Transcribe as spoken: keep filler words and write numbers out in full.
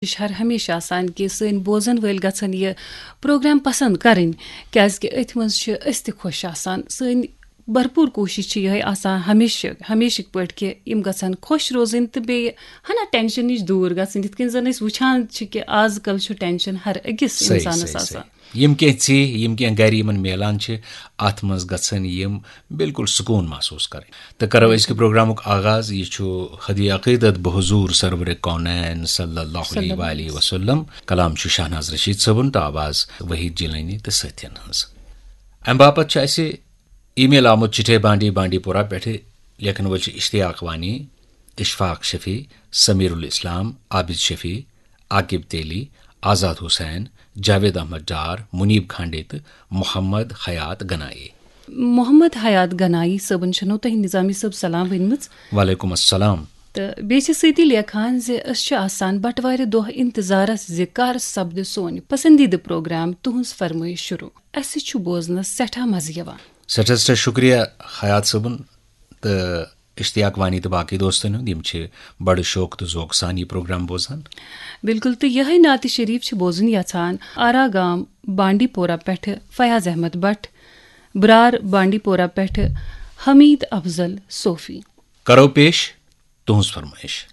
کوٗشِش ہر ہمیشہٕ آسان کہِ سٲنۍ بوزن وٲلۍ گژھن یہِ پروگرام پسند کرٕنۍ، کیازِ کہِ أتھۍ منٛز چھِ أسۍ تہِ خۄش آسان۔ سٲنۍ بھرپوٗر کوٗشِش چھِ یِہے آسان ہمیشہٕ، ہمیشٕکۍ پٲٹھۍ کہِ یِم گژھن خۄش روزٕنۍ تہٕ بیٚیہِ ہنا ٹینشن نِش دوٗر گژھٕنۍ، یِتھ کٔنۍ زن أسۍ وٕچھان چھِ کہِ آز کل چھُ ٹینشن ہر أکِس صحیح، اِنسانس صحیح، آسان۔ صحیح۔ یِم کینٛہہ ژیہ، یِم کینٛہہ گرِ یِمن میلان چھِ، اتھ منٛز گژھن یِم بالکل سکوٗن محسوٗس کرٕنۍ۔ تہٕ کرو أزکہِ پروگرامُک آغاز۔ یہِ چھُ ہدی عقیدت بحضور سرور کونین صلی اللہ علیہ وآلہ وسلم۔ کلام چھُ شاہناز رشید صٲبُن تہٕ آواز وحید جیلانی تہٕ سٲتھین ہٕنٛز۔ امہِ باپتھ چھُ اسہِ ای میل آمُت، چٹھے بانڈی، بانڈی پورہ پٮ۪ٹھٕ۔ لیکھن وٲلۍ چھِ اشتیاق وانی، اشفاق شفیع، سمیر الاسلام، عابد شفیع، عاقب تیلی، آزاد حسین، جاوید احمد ڈار، منیب کھانڈے تہٕ محمد حیات گنایی۔ محمد حیات گنایی صٲبن چھنو تۄہہِ نظامی صٲب سلام ؤنمٕژ۔ وعلیکم السلام۔ تہٕ بیٚیہِ چھِ سۭتی لیکھان زِ أسۍ چھِ آسان بٹوارِ دۄہ انتظارس زِ کر سپدِ سون پسندیدٕ پروگرام تُہنٛز فرمٲیش شروع۔ اسہِ چھُ بوزنس سٮ۪ٹھاہ مزٕ یِوان۔ سٮ۪ٹھاہ سٮ۪ٹھاہ شُکریہ حیات صٲبُن تہٕ اشتیاق وانی تہٕ باقٕے دوستن ہُنٛد، یِم چھِ بڑٕ شوق تہٕ ذوق سان یہِ پروگرام بوزان۔ بِلکُل، تہٕ یِہے نعتِ شریف چھِ بوزُن یژھان آرا گام بانڈی پورہ پٮ۪ٹھٕ فیاض احمد بٹ، برار بانڈی پورہ پٮ۪ٹھٕ حمید افضل صوفی۔ کرو پیش تُہنٛز فرمٲیش۔